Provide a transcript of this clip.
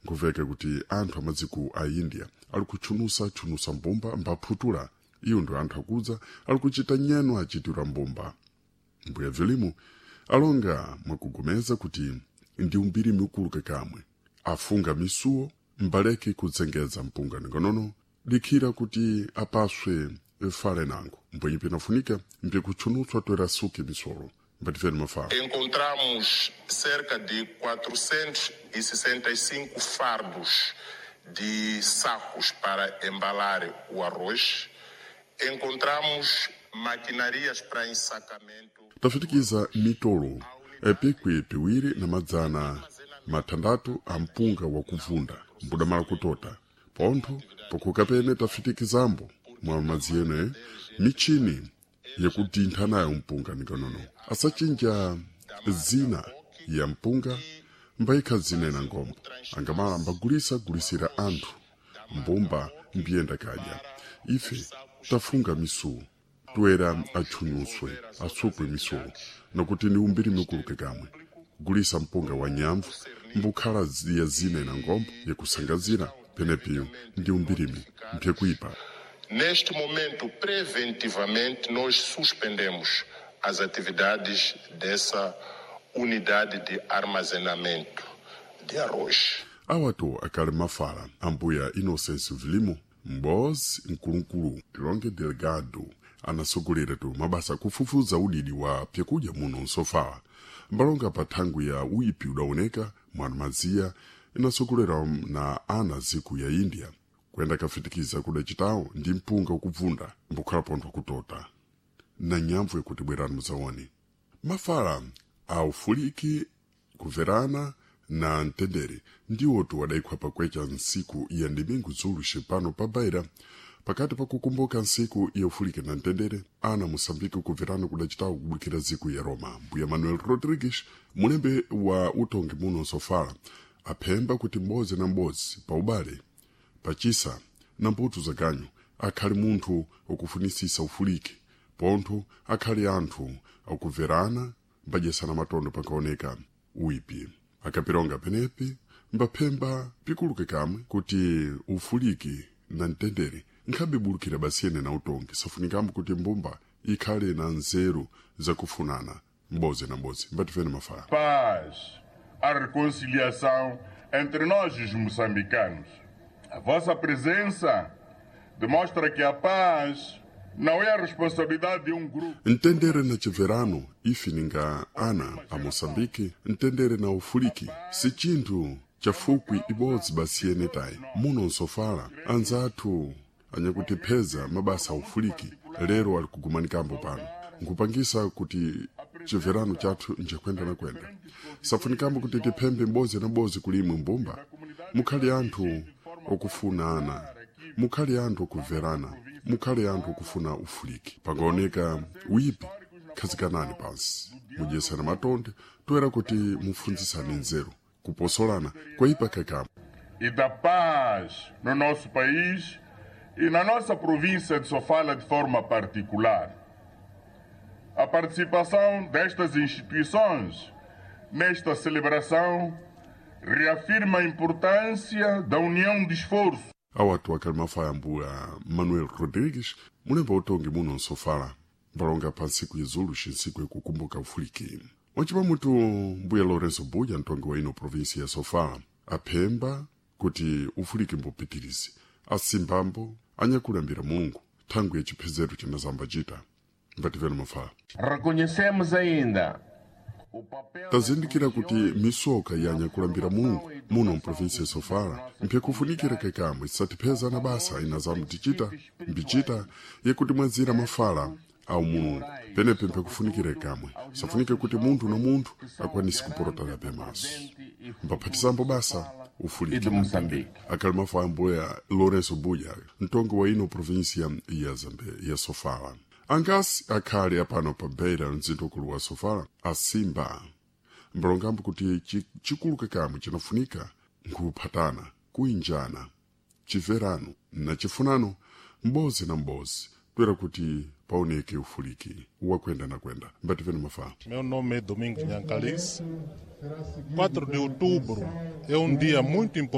Nkuveke kuti anthu amadziko a India ali kutchunusa-tchunusa mbumba mbaphutula iyo ndo anthu akudza ali kuchita nyeno achitira mbumba. Mbuya Vilimu alonga mwakugomeza kuti ndi umbiri mikulu kakamwe afunga misuwo mbaleke kudzengedza mpunga ningonono likhira kuti apaswe fale nango mbwenyi pinafunika mpikutchunutswa toera suki misolo mbatifeni mafala. Encontramos cerca de 465 fardos de sacos para embalar o arroz. Encontramos maquinarias para ensacamento. Tafitikiza mitolo epikwi piwiri na madzana mathandatu a mpunga wakuvunda mbudamala kutota pontho pokhuka pene tafitikizambo mwa madzi ene michini yakutintha nayo mpunga nikonono asachinja zina ya mpunga mbayikha zinena ngombo angamala mbagulisa gulisira anthu mbumba mbiyenda kadya ife tafunga misuwo toera atchunyuswe asukwe misuwo nokuti ni umbiri mikuluke kamwe gulisa mpunga wa nyamvu mbukhala ya zina na ngombo yakusangazira penepiyo ndi umbirimi mpyekuipa. Neste momento, preventivamente, nós suspendemos as atividades dessa unidade de armazenamento de arroz. Awato akali mafala ambuya Innocence Vilimo m'bozi mkulukulu Tilonge Delgado anasogolera tu mabasa kufufuza udidi wa pyakudya muno nsofala mbalonga pa thangwi ya uipi udaoneka mwana maziya inasogolera na ana ziku ya India kuyenda kafitikiza kudacitawo ndi mpunga ukubvunda mbukhala pontho kutota na nyamvu yakuti bwerani muzaone mafala a ufuliki kuverana na mtendere ndiwotu wadaikhwa pakwecha ntsiku ya ndimingu zulu xipano pa Beira pakati pakukumbuka ntsiku ya ufuliki na mtendere ana Moçambique kuverana kudacitawo kubukira ziku ya Roma. Mbuya Manuel Rodrigues mulembe wa utongi muno nsofala aphemba kuti m'bodzi na m'bodzi pa ubale pachisa na mbuto zaganyu akhali munthu ukufunisisa ufuliki pontho akhali anthu akuverana mbadyesana matondo pankaoneka uipi akapironga penepi mbaphemba pikuluke kamwe kuti ufuliki na mtendere nkhabibulukira basiyene na utongi safunikambo kuti mbumba ikhale na nzeru zakufunana m'bodzi na m'bodzi mbatifeni mafala. Paz, a reconciliação entre nós, os moçambicanos. A vossa presença demonstra que a paz não é a responsabilidade de um grupo. Mtendere na chiverano ife ninga ana a Moçambique mtendere na ufuliki si chinthu chafukwi ibodzi basiyene tayi muno nsofala anzathu anyakutipheza mabasa a ufuliki lero ali kugumanikambo pano nkupangisa kuti chiverano chathu njakwenda na kwenda safunikambo kuti tiphembe m'bodzi na m'bodzi kulimwe mbumba mukhali anthu okufunana mukhali anthu okuverana mukhali anthu okufuna ufuliki pangaoneka uipi khazikanani pansi mudyesana matonde toera kuti mufunzisane nzeru kuposolana kwaipa kakamwe. E da paz no nosso país e na nossa província de Sofala de forma particular. A participação destas instituições nesta celebração reafirma a importância da união de esforço. Awatu akali mafaya mbuya Manuel Rodrigues mulemba utongi muno nsofala mbalonga pa ntsiku izulu xintsiku ikukumbuka ufuliki wacipa mutu mbuya Lourenço Buja mtongi wa ino província ya Sofala aphemba kuti ufuliki mbupitirize asimbambo anyakulambira Mulungu thangwi ya chiphezero cinazamba cita mbativeni mafala. Reconhecemos ainda Tazindikira kuti misoka yanyakulambira Mulungu muno mprovinsi ya Sofala mpyakufunikira kekamwe isatipheza na basa inazamu tichita mbichita yekuti mwazira mafala au Mulungu penepe mpyakufunikira kamwe safunike kuti munthu na munthu akwanise kupolotana pemaso mbaphatizambo basa ufuliki de Moçambique. Akali mafala mbuya Lourenço Buja mtongi wa ino província ya Zambe ya Sofala angasi akhali apano pa Beira mzinda ukulu wa Sofala asimba mbalongambo kuti chikuluke kamwe chinafunika nkuphatana kuinjana chiverano na chifunano m'bodzi na m'bodzi toera kuti paoneke ufuliki wakwenda na kwenda mbativeni mafala. Meu nome é Domingos Nhancalice. 4 de outubro é um dia muito importante.